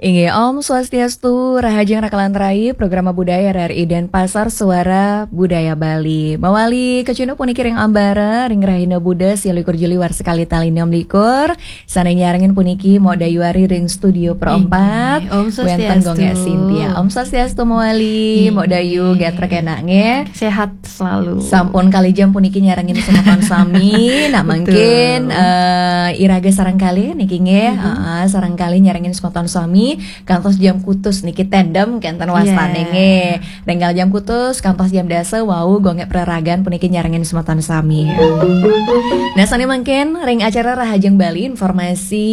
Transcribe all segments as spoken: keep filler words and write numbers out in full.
Inggih, Om Swastiastu, rahajeng rakalan rai, Programa Budaya R R I Denpasar, Suara Budaya Bali. Mawali kacuna puniki ring ambara, ring rahina Buda, sialikur Juli warsa kalih tali enam likur. Sane nyarengin puniki Mok Dayu Ari ring studio Pro empat. Inggih, Om Wenten Swastiastu. Gong Sintia. Om Swastiastu mawali, Mok Dayu, inggih. Gatrek enak nggih. Sehat selalu. Sampun kalih jam puniki nyarengin semeton sami. Nak mangkin, eh, iraga sareng kalih niki nggih. Heeh, sareng kalih nyarengin semeton sami kantos jam kutus niki tandem kenten wastane nggih. Renggal jam kutus kantos jam dasa wau gongek praragan puniki nyarengin semeton sami. Nah, sane mangkin ring acara Rahajeng Bali, informasi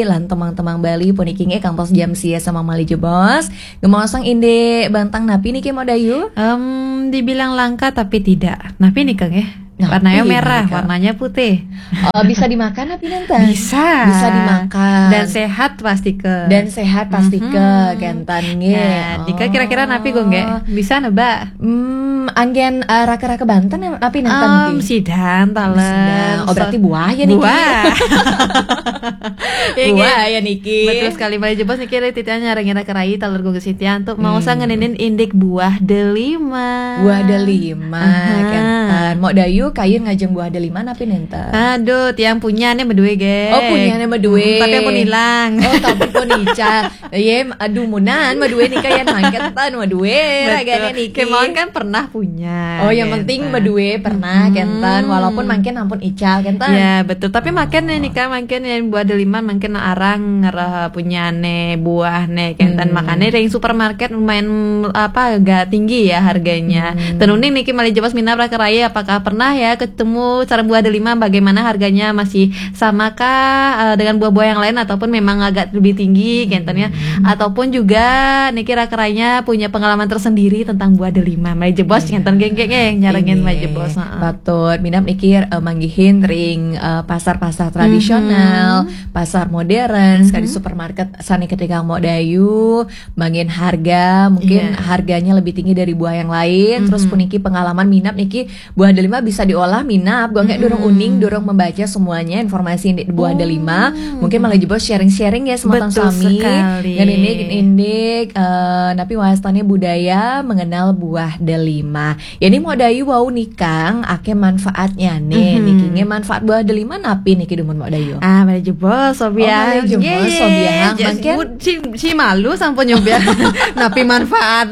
lan temang-temang Bali puniki nggih kantos jam sia sama malih jebos. Ngemaosang indik bantang napi niki, Mok Dayu? Em, dibilang langka tapi tidak. Napi nika nggih? Napi warnanya merah, nika? Warnanya putih. Oh, bisa dimakan napi nenten? Bisa. Bisa dimakan. Dan sehat pastika. Dan sehat pastika, kenten nggih. Nah, nika kira-kira napi, Gung, nggih? Bisa nebak? Hmm, anggen, eh, raka-raka banten napi nenten niki? Sidan, taler. Sidan. Oh, berarti buah ya niki? Buah. Iya, nggih. Buah ya niki. Betul sekali, malih jebos niki ri titiang nyarengin raka rai taler Gung Sintia antuk maosang ngeninin indik buah delima. Buah delima, kenten. Mok Dayu kayun ngajeng buah delima napi nenten? Aduh, tiang punyane madue, nggih. Oh, punyane madue. Hmm, tapi ampun ilang. Oh, tapi pun ical. Ye, aduh, munan madue nika yen mangkin ten madue, betul. Ragane niki. Kemawon kan pernah punya, oh, yang penting madue pernah, kenten. Walaupun mangkin ampun ical, kenten. Ya, betul. Tapi mangkin nika, mangkin yang buah delima mangkin arang ngereh punyane buahne, kenten. Makanya ring supermarket lumayan, apa, agak tinggi ya harganya. Ten uning niki malih jebos minab raka rai, apakah pernah ya ketemu sareng buah delima, bagaimana harganya, masih samakah, eh, dengan buah-buah yang lain ataupun memang agak lebih tinggi, kenten ya. Ataupun juga niki raka raine punya pengalaman tersendiri tentang buah delima. Malih jebos kenten nggih, nggih, nyarengin malih jebos. Heeh. Patut minab niki, eh, manggihin ring, eh, pasar-pasar tradisional, pasar modern, sekali supermarket sane ketika Mok Dayu, manggihin harga, mungkin harganya lebih tinggi dari buah yang lain. Terus puniki pengalaman minab niki buah delima bisa diolah minab, gongek durung uning, durung membaca semuanya informasi di buah delima. Mungkin malih jebos sharing-sharing ya semeton sami. Betul sekali. Ngenindik-nindik, eh, napi wastane budaya mengenal buah delima. Ya, ini Mok Dayu wau nikang akeh manfaatnya nih. Niki nggih manfaat buah delima napi niki dumun Mok Dayu? Ah, malih jebos, sobiahang. Oh, malih jebos, sobiahang. Mangkin si, si malu sampun nyobiahang. Napi manfaat?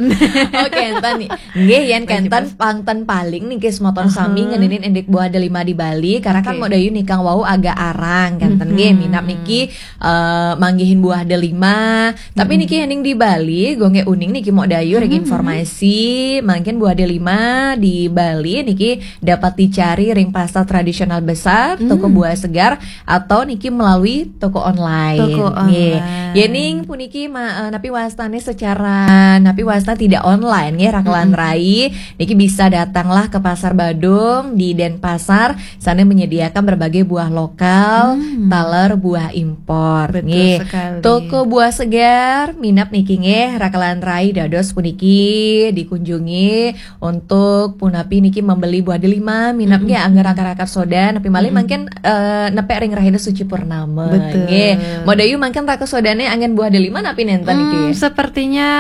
Oke, enten nih. Nggih, yen kenten pangten paling niki semeton sami ngeninin indik buah delima di Bali, karena kan Mok Dayu nikang wau agak arang, kenten nggih, minab niki, eh, manggihin buah delima. Tapi niki yening di Bali, gongek uning niki Mok Dayu ring informasi, mangkin buah delima di Bali niki dapat dicari ring pasar tradisional besar, toko buah segar, atau niki melalui toko online. Toko online. Yening puniki ma-, eh, napi wastane secara, napi wasta tidak online nggih, rakalan rai. Niki bisa datanglah ke Pasar Badung di Denpasar, sana menyediakan berbagai buah lokal, taler buah impor. Betul sekali. Toko buah segar, minab niki nggih, rakalan rai dados puniki dikunjungi untuk punapi niki membeli buah delima, minab nggih angger raka-raka soda, napi malih mangkin, eh, nepek ring rahina suci purnama. Betul. Nggih. Mok Dayu mangkin raka sodane anggen buah delima napi nenten niki? Hmm, sepertinya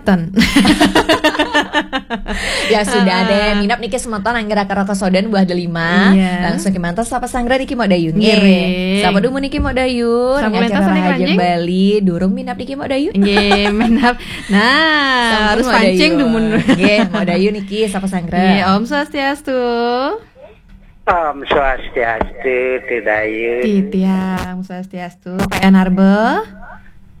ten. Ya sudah deh, minab niki semeton angger raka-raka sodan buah delima. Iya. Langsung kemanten sapa sanggra niki Mok Dayu nggih. Nggih. Sapa dumun niki Mok Dayu? Sapa ring acara Rahajeng Bali, durung minab niki Mok Dayu? Nggih, minab. Nah, sampun harus Mok Dayu. Pancing dumun. Nggih, Mok Dayu niki sapa sanggra? Nggih, Om Swastiastu. Om Swastiastu, Ti Dayu. Titiang Swastiastu, Pak Yan Arbe.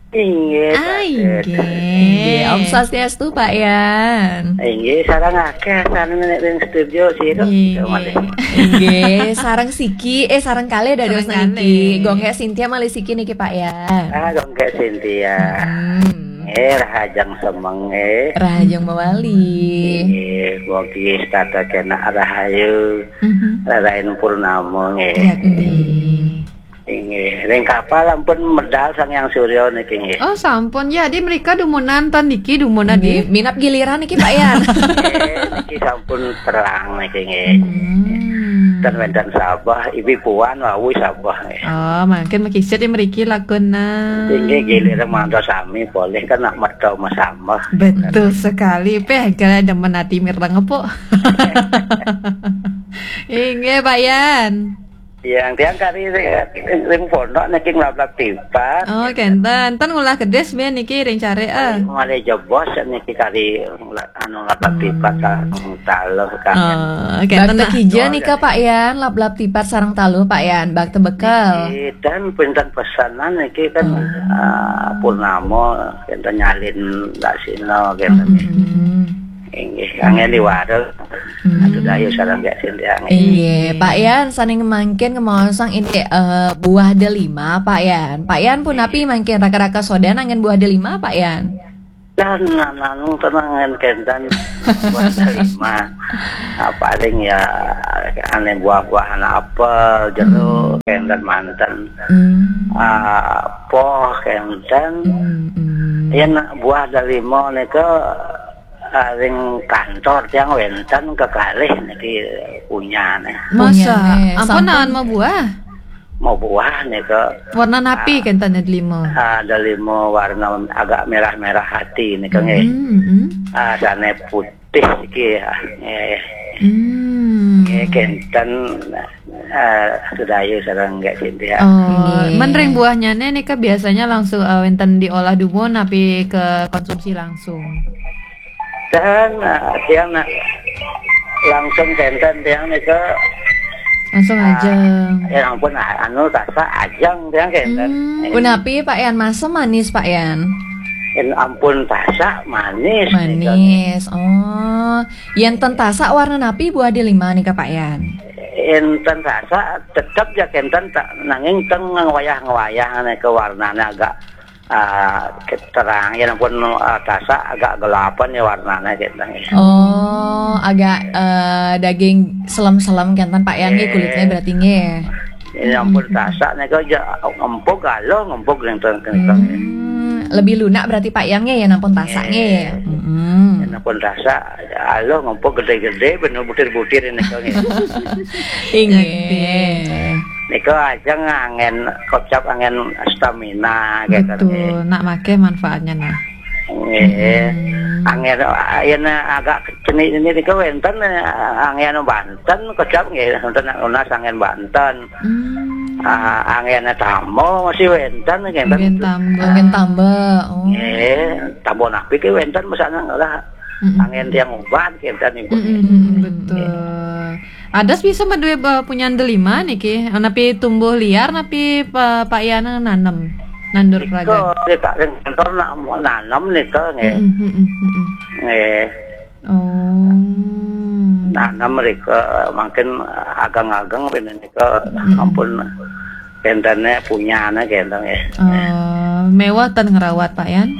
Inggih, ah, Pak Yan. Inggih. Inggih, Om Swastiastu, Pak Yan. Inggih, sareng akeh sareng ning studio sira. Inggih. Inggih, sareng siki, eh, sareng kalih dados niki. Sareng kalih. Gongek Sintia malih siki niki, Pak Yan. Ah, gongek Sintia. Hmm. Eh, rahajeng semeng, eh. Rahajeng mawali. Eh, mugi setata kena rahayu. Mhm. Rarain purnama, eh. Yakti. Inggih, ring kapal ampun medal Sang Hyang Surya niki, nggih. Oh, sampun. Ya, di mrika dumunan ten niki, dumunan nggih, di minap giliran niki, Pak Yan. Eh, niki sampun terang niki, nggih. Hmm. Kan wénten sabeh, ibi puan wau sabeh. Oh, mangkin makisah ya mriki lakuna. Inggih, gilir mantos sami polih kan nak metu masambah. Betul sekali, peh, kira demen ati mireng, Puk. Inggih, Pak Yan. Yang tiang kari ring, ring pondok niki nglablab tipat. Oh, kenten. Ten ngolah kedis biyen niki ring carik, ah. Malih jebos niki kari ngla-, anu, nglablab tipat, ah, taluh kan. Oh, kenten. Bakta kija nika, Pak Yan, lablab tipat sareng taluh, Pak Yan, bakta bekel. Niki, dan pinten pesanan niki kan, ah, purnama, kenten nyalin dak sina, kenten. Inggih, anggen di warung. Atu dayu sareng Mbak Sintia. Inggih, Pak Yan, saning mangkin ngemaosang indik, eh, buah delima, Pak Yan. Pak Yan punapi mangkin raka-raka sodan anggen buah delima, Pak Yan? Dan anu tenang kan kenten buah delima. Ah, paling ya ane buah-buahan apel, jeruk, kenten manten. Ah, poh kenten. Yen buah delima nika ah, ring kantor tiang wénten kekalih niki punyane. Masa? Punyane, ampun, sampun. Naon mabuah? Mabuah nika. Warna napi kenten delima? Ah, delima warna agak merah-merah hati nika nggih. Ah, sane putih iki, ah, nggih. Nggih, kenten, ah, sedayu sareng nggih Sintia. Oh, nggih. Men ring buahnyane nika biasanya langsung, eh, wénten diolah dumun napi ke konsumsi langsung? Dan, ah, tiang nak langsung kenten tiang nika. Langsung ah, ajeng. Ya ampun, ah, anu tasak ajeng tiang kenten. Punapi, Pak Yan, masem manis, Pak Yan? Yen ampun tasak manis nika. Manis. Oh, yen ten tasak warna napi buah delima nika, Pak Yan? Yen ten tasak tetep ya kenten ta-, nanging ten ngwayah-ngwayah nika warnane agak ah, terang, yen ampun, ah, tasak agak gelapan ya warnane kenten. Oh, agak, eh, daging selem-selem kenten, Pak Yan, nggih, kulitnya berarti nggih. Yen ampun tasak nika aja ngempug, aluh ngempug kenten. Hmm, lebih lunak berarti, Pak Yan, nggih, yen ampun tasak nggih. Yen ampun tasak, aluh ngempug gede-gede, bener butir-butir nika nggih. Inggih. Nika ajeng anggen kocap anggen stamina kenten. Betul, nak make manfaatnya nah. Nggih. Anggen, ah, yen agak cenik ini nika wénten, eh, anggen banten kocap nggih, wénten nunas anggen banten. Ah, anggen tambo masih wénten kenten. Anggen tambo. Anggen tambo. Oh. Nggih, tambo napi ki wénten mesana ngolah. Anggen tiang ubat kenten ibu. Betul. Adas bisa madué, eh, punyan delima niki, napi tumbuh liar, napi pa-, Pak Yan nanem, nandur pragat? Nika, nika ring kantor nak mau nanem nika nggih. Nggih. Oh. Nanem rika mangkin ageng-ageng bene nika ampun kentene punyane kenten nggih. Oh, mewah ten ngrawat, Pak Yan?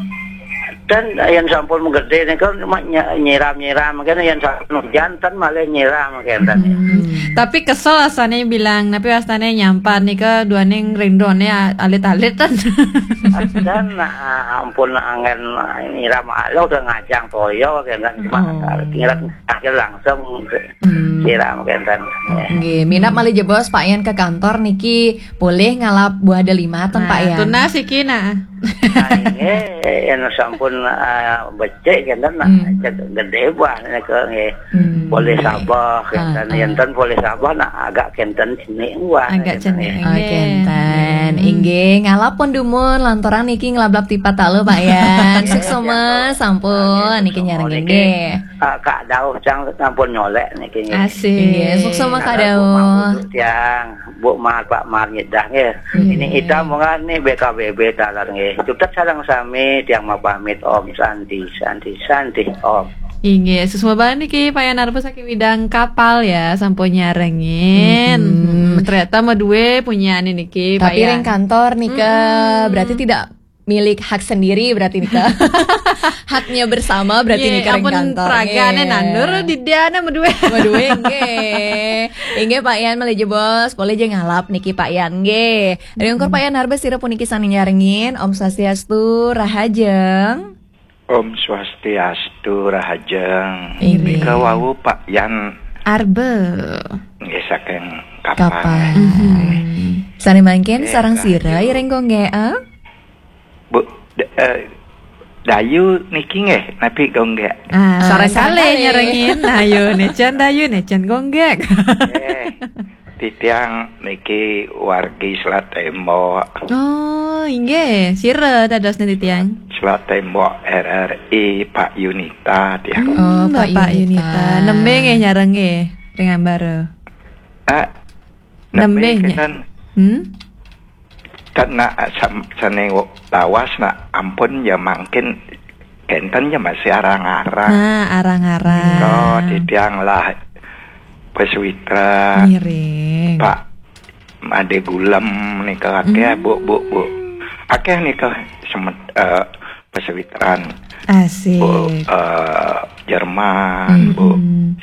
Dan yen sampun gede nika cuma ny-, nyiram-nyiram kene, yen sampun hujan ten malah nyiram kenten. Hmm. Tapi kesel asane bilang, tapi wastane nyampar nika duaning rindone a-, alit-alit ten. Dan, ah, ampun anggen nyiram, aluh udah ngajang toya kenten, cuma nyiram akhir langsung siram kenten. Nggih, minab malih jebos Pak Yan ke kantor niki polih ngalap buah delima ten, Pak Yan. Tunas iki nah. Nah, nggih, yen sampun, ah, becik kenten nah, cek gede buah nika nggih. Polih sabeh kenten, yen ten polih sabeh nah agak kenten cenik buah. Agak cenik. Oh, kenten. Inggih, ngalap pun dumun lantaran niki ngelablab tipat talu, Pak Yan. Suksma sampun niki nyarengin nggih. Ah, Kak Dauh cang sampun nyolek niki nggih. Asik. Nggih, suksma Kak Dauh. Tiang, Bu Mar, Pak Mar nyedah nggih. Ini ita mungkin nih B K B B talar nggih. Tutup sareng sami tiang mau pamit, Om Santi, Santi, Santi, Om. Inggih, suksma banget niki Pak Yan Arba saking Widang Kapal ya, sampun nyarengin. Hmm, ternyata madué punyane niki, Pak Yan. Tapi ring kantor nika, berarti tidak milik hak sendiri berarti nika. Haknya bersama berarti nika ring kantor. Nggih, ampun pragane nandur didiane madué. Madué nggih. Inggih Pak Yan malih jebos, polih ja ngalap niki Pak Yan nggih. Ring ungkur Pak Yan Arba sira puniki sane nyarengin, Om Swastiastu, rahajeng. Om Swastiastu, rahajeng. Inggih. Nika wau Pak Yan Arba. Nggih, saking Kapan. Mhm. Sané mangkin sareng sira, Rahayu. Iring Gung Gék, eh? Bu, d-, eh, Dayu niki nggih, napi Gung Gék? Ah, sareng kalih nyarengin. Ayo, nécén Dayu, nécén Gung Gék. Nggih. Titiang niki wargi Selat Tembok. Oh, inggih. Sira dadosné titiang? Selat Tembok R R I, Pak Yunita, tiang. Hmm, oh, Pak Bapak Yunita. Yunita. Nembé nggih nyareng nggih, ring ambara? Ah, nembé nembé nggih. Kénten. Hmm? Kan nak sam-, sané lawas nak ampun ya mangkin kénten ya masih arang-arang. Nah, arang-arang. Nika titiang lah pesuwitran. Ngiring. Pak Madé Gulem nika akéh, hmm. Bu, Bu, Bu. Akéh nika semet-, eh, pesuwitran. Asik. Bu, eh, Jerman, hmm. Bu.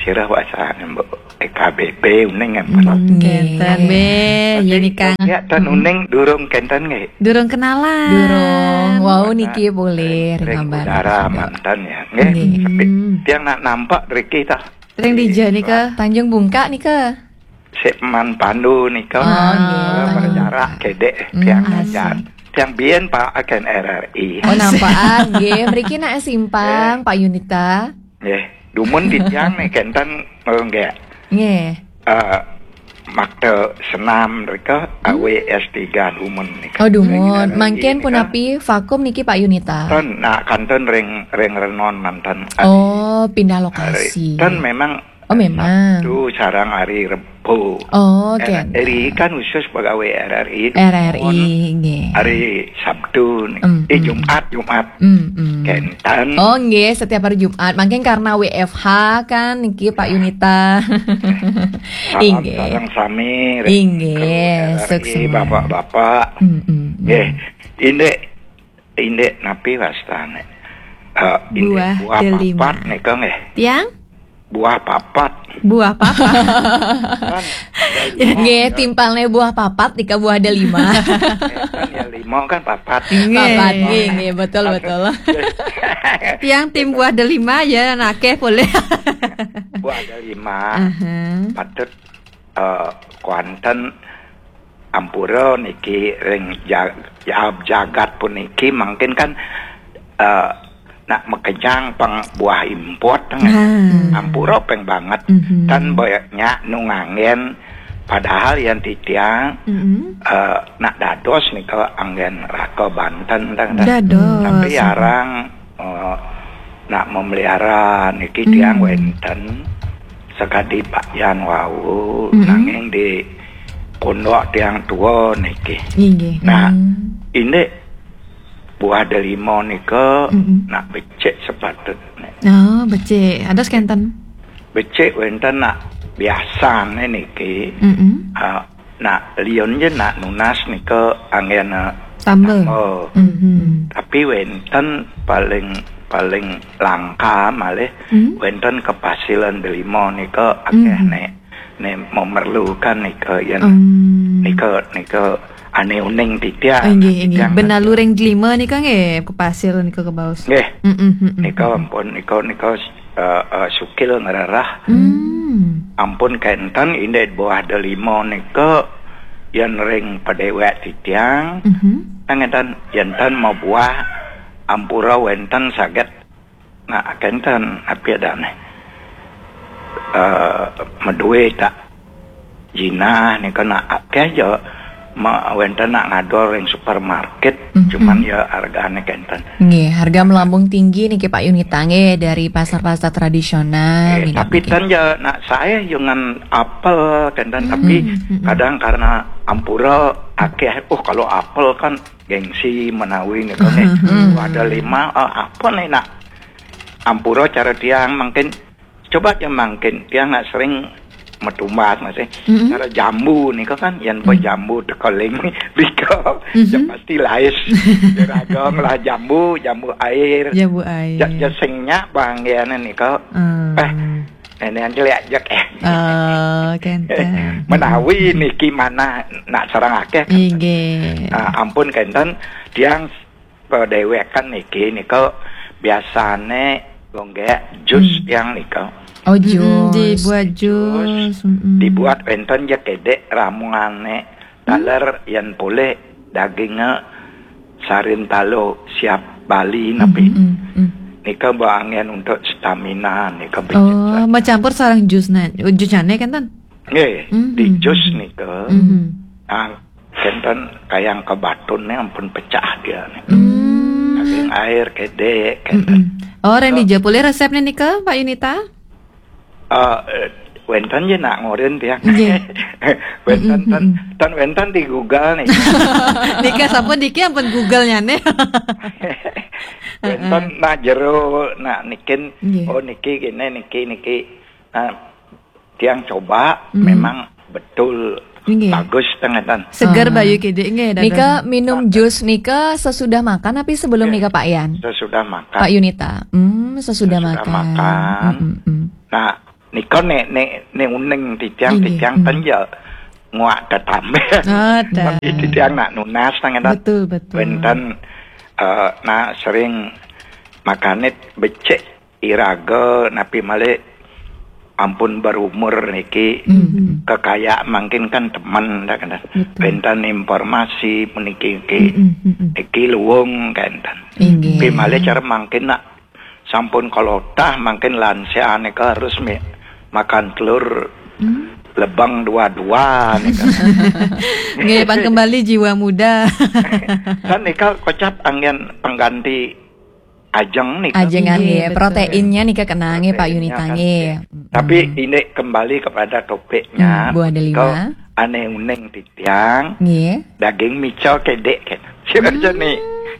Sira wasané, Bu. E K B B uning ampun. Hmm, nggih. Kénten, nggih. Tapi nika. Ya, tan uning durung kénten nggih. Durung kenalan. Durung. Wau niki boleh ring, ring ambara. Udara manten ya, nggih. Nggih. Tapi tiang nak nampak riki tah. Ring dija nika? Tanjung Bungka nika. Sik Man Pandu nika. Oh, nggih. Berjarak kedék, hmm, tiang ngajar. Tiang biyen Pak akan R R I. Oh, nampakan nggih. Mriki nak simpang, nggih. Pak Yunita. Nggih. Dumun titiang nih kénten, oh, nggih. Nggih. Eh, makta senam mrika, hmm. Awe S tiga dumun nika. Oh, dumun. Ring R R I mangkin nika. Punapi vakum niki Pak Yunita? Ten, nak kantun ring, ring Renon manten. Oh, pindah lokasi. Ten memang. Oh, memang. Sabtu sareng hari Rebo. Oh, oke. R R I kan khusus pegawai R R I. R R I, dumun. Nggih. Hari Sabtu nih. Mm, eh, mm. Jumat, Jumat. Mm, mm. Kénten. Oh, nggih, setiap hari Jumat. Mangkin karena W F H kan niki Pak Yunita. Salam, nggih. Sareng sami, nggih, R R I, suksma. Bapak-bapak. Mm, mm, mm. Nggih. Indik, indik napi wastané? Eh, indik buah delima. Buah papat nika nggih. Tiang? Buah papat. Buah papat. Kan, ya, nggih, timpalné buah papat nika buah delima. Eh, kan ya lima kan papat. Nggih. Papat, nggih, nggih, betul, betul. Tiang tim buah delima ya, nakéh boleh. Buah delima. Aha. Patut, eh, kuanten ampura niki ring ja-, ja-, jagat puniki mangkin kan, eh, nak makejang pang buah import, kan. Nah. Ampura pang banget. Mhm. Tan banyak nu nganggén, padahal yén titiang, mhm, eh, nak dados nika anggén raka banten, tang, tang. Dados. Tapi arang, eh, nak memelihara niki tiang, hmm, wénten sakadi Pak Yan wau, hmm, nanging di pondok tiang tua niki. Inggih. Nah, hmm, indik buah delima nika, mm-mm, nak becik sepatutné. Oh, becik. Ada kénten? Becik wénten nak biasané niki. Mm-mm. Ah, nak liun ja nak nunas nika anggén, ah, tamba. Tamba. Mm-hmm. Tapi wénten paling, paling langka malih, mm, wénten kepasilan delima nika akéh, mm-hmm, né. Né memerlukan nika yén, hmm, nika, nika ané uning titiang. Oh, inggih, inggih. Titiang benalu nika. Ring delima nika nggih, kepasil nika kebaos. Nggih. Mm-mm, mm-mm. Nika ampun, nika, nika, eh, eh, sukil ngrereh. Hmm. Ampun kénten indik buah delima nika yén ring padéwék titiang. Mhm. Ngénten, yén ten mabuah ampura wénten saged. Nah, kénten, api adané. Eh, madué tak jinah nika nak akéh ja ma-, wénten nak ngadol ring supermarket, mhm, cuman ya hargané kénten. Nggih, harga melambung tinggi niki Pak Yunita nggih dari pasar-pasar tradisional. Nggih, niki, tapi niki. Ten ja nak saé jangan apel kénten, hmm, tapi, hmm, kadang karena ampura akéh, oh, kalau apel kan gengsi menawi nika nggih. Hmm. Ada lima, eh, apa nih nak? Ampura cara tiang mangkin, coba ja mangkin, tiang nak sering metumbas masih. Mm-mm. Cara jambu nika kan, yén, mm, jambu tekeling nika, mm-hmm, ya pasti lais. Jeragang lah jambu, jambu air. Jambu air. Ja, ja sing nyak banggiané nika. Hmm. Eh, néné yang jelek jek, eh. Oh, kénten. Menawi niki manah nak sareng akéh. Inggih. Ah, ampun kénten, tiang padéwékan niki, nika biasané ngonggék jus, hmm, tiang nika. Oh, mm-mm, jus. Dibuat jus. Mm-mm. Dibuat wénten ja kedék ramungane. Taler yen polih dagingnya sarin talo siap Bali napi. Mm-mm, mm. Nika baangen untuk stamina nika. Oh, becek. Macampur sareng jus na-, jus jane kan, Tan? Nggih, mm-hmm, di jus nika. Mm-hmm. Nah, kenten kayang kebatun nih ampun pecah dia nih. Mm. Daging air kedék kenten. Mm-mm. Oh, nika. Nika. Dija polih resepnya nika, Pak Yunita? Eh, eh, wénten ja nak ngorin tiang. Nggih. Wénten, mm-mm, tan, mm-mm, tan wénten di Google nih. Nika sampun niki ampun Google-nyane. Wénten, heeh, nak jero, nak nikin, nggih, oh niki kene, niki, niki. Nah, tiang coba, mm, memang betul, nggih, bagus tengatan. Seger, ah, bayu kedék nggih, dados. Nika minum, nah, jus nika sesudah makan tapi sebelum, nggih, nika, Pak Yan? Sesudah makan. Pak Yunita. Hmm, sesudah, sesudah makan. Makan. Mm, mm, mm. Nah, nika nek, nek, nek uning titiang, nggih, titiang, mm, ten ja nguak tetambah. Oh, tapi titiang nak nunas tengatan. Betul, betul. Wénten, eh, nah sering makanit becek iraga napi malih ampun berumur niki, mm-hmm, kekaya mangkin kan temen dah kena. Betul. Wénten informasi puniki niki, mm-mm, mm-mm, niki luung kenten. Inggih. Tapi malih cara mangkin nak sampun kolotah mangkin lansia nika harus mi-, makan telur, mm, lebang dua-dua nika. Nggih, pan kembali jiwa muda. Kan nika kocap angin pengganti ajeng nika. Ajengan, nggih, nggih, betul. Proteinnya nika kena nggih, Pak Yunita, proteinnya kan, nggih. Tapi, mm-mm, ini kembali kepada topiknya. Hmm, buah delima. Ke ane uning titiang. Nggih. Daging mica kedék kan. Siapa, hmm, nih?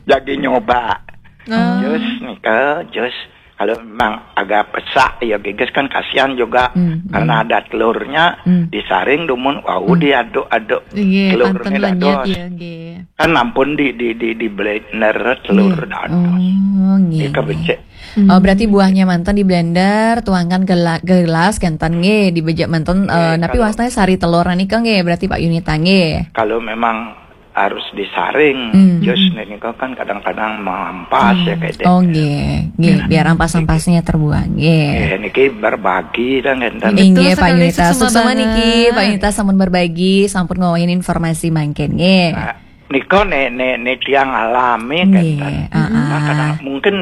Jadi nyoba. Oh. Jus nika, jus. Kalau memang agak pesak ya geges kan kasihan juga. Hmm, hmm. Karena ada telurnya, hmm, disaring dumun, wau, hmm, diaduk-aduk. Nggih, telurnya panten lenyet dados. Ya, nggih. Kan ampun di, di, di, di blender telur, nggih, dados. Oh, nggih, nggih. Becek. Hmm. Oh, berarti buahnya manten di blender, tuangkan gela-, gelas, kenten nggih, dibejek manten, eh, nggih, napi kalau wastane sari telur nika nggih, berarti Pak Yunita nggih. Kalau memang harus disaring, hmm, jus nika kan kadang-kadang mampas ya, hmm, kedék. Oh, nggih, nggih, ya, biar ampas-ampasnya terbuang, nggih. Nggih, niki berbagi dah kenten. Betul sekali, Pak Yunita, suksma banget. Suksma niki, Pak Yunita sampun berbagi, sampun ngawahin informasi mangkin nggih. Nah, nika ne, ne, ne tiang alami, nggih, kenten. Heeh. Nah, kadang mungkin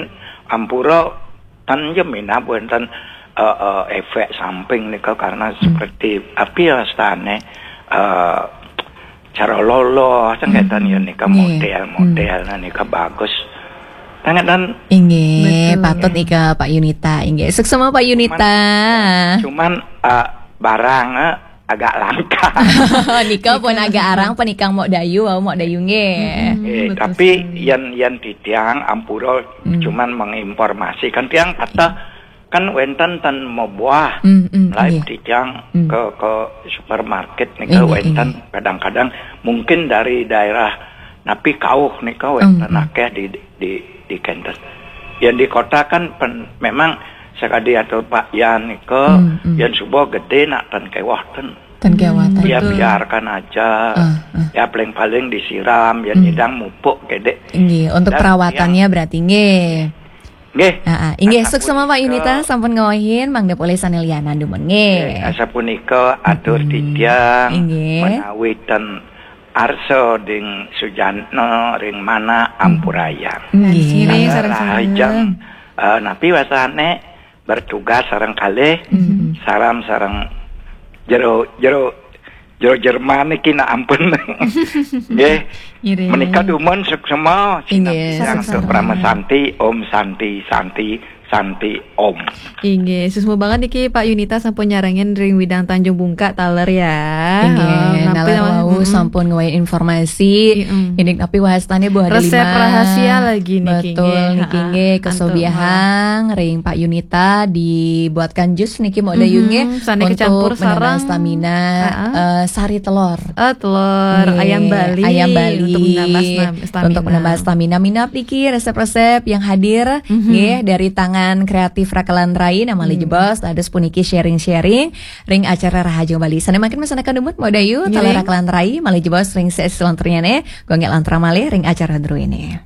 ampura tan ja minab wénten, eh, eh, efek samping nika karena, hmm, seperti api wastane, eh, cara loloh, sengketan, hmm, ya nika, nggih, model-model, hmm, nah nika bagus. Tangan dan inggih, betul, patut nggih. Nika Pak Yunita, inggih. Suksma Pak Yunita. Cuman, ya, cuman, eh, barang, eh, agak langka. Nika pun agak arang penikang Mok Dayu, wau Mok Dayu nggih. Mm-mm, eh, betul tapi sekali. Yan, yan titiang ampura, hmm, cuman menginformasikan tiang kata kan wénten ten mabuah, mm-mm, live, nggih, titiang, mm, ke, ke supermarket nika, nggih, wénten, nggih, kadang-kadang mungkin dari daerah napi kauh nika wénten, mm-mm, akeh di, di, di kenten. Yang di kota kan pen-, memang sekadi atur Pak Yan nika, mm-mm, yang subuh gedé nak ten kewah ten. Ten kewah ten. Ya, betul, biarkan aja. Ah, ah. Ya paling-paling disiram, ya, hmm, nyidang mupuk kedék. Nggih, untuk dan perawatannya yang berarti nggih. Nggih. Heeh. Inggih, asapunika, suksma Pak Yunita sampun ngawahin, mangda polih sané lianan dumun nggih. Nggih, asapunika atur, mm-mm, titiang, inggih, menawi ten arsa ding sujatna ring mana, hmm, ampurayang. Nggih. Nggih, sareng-sareng. Rahajeng, eh, napi wasané bertugas sareng kalih, mm-mm, saram sareng jero, jero, jero Jerman niki nak ampun. Nggih. Ngiring. Menika dumun suksma, inggih, sinambi untuk sama-sama. Parama Santi, Om Santi, Santi, Santi, Om. Inggih, suksma banget niki Pak Yunita sampun nyarengin ring Widang Tanjung Bungka taler ya. Inggih, oh, napi naler nama? Wau, mm-mm, sampun ngawahin informasi. Mm-mm. Indik napi wastane buah delima. Resep rahasia lagi niki, betul, nggih, niki, ha-ha, nggih, antuk kesobiahang ring Pak Yunita dibuatkan jus niki Mok Dayu, mm-hmm, nggih, sane untuk kecampur menambah sareng stamina, ha-ha, eh, sari telur. Eh, telur, nggih, ayam Bali, ayam Bali untuk menambah stam-, stamina. Untuk menambah stamina. Minab niki resep-resep yang hadir, mm-hmm, nggih, dari tangan kreatif Rakelan Rai, nah malih, hmm, jebos, dados puniki sharing-sharing ring acara Rahajeng Bali. Sane mangkin masandekan dumun, Mok Dayu, nggih, taler Rakelan Rai, malih jebos ring sesi selanturnyane, gonggek lantra malih ring acara druene.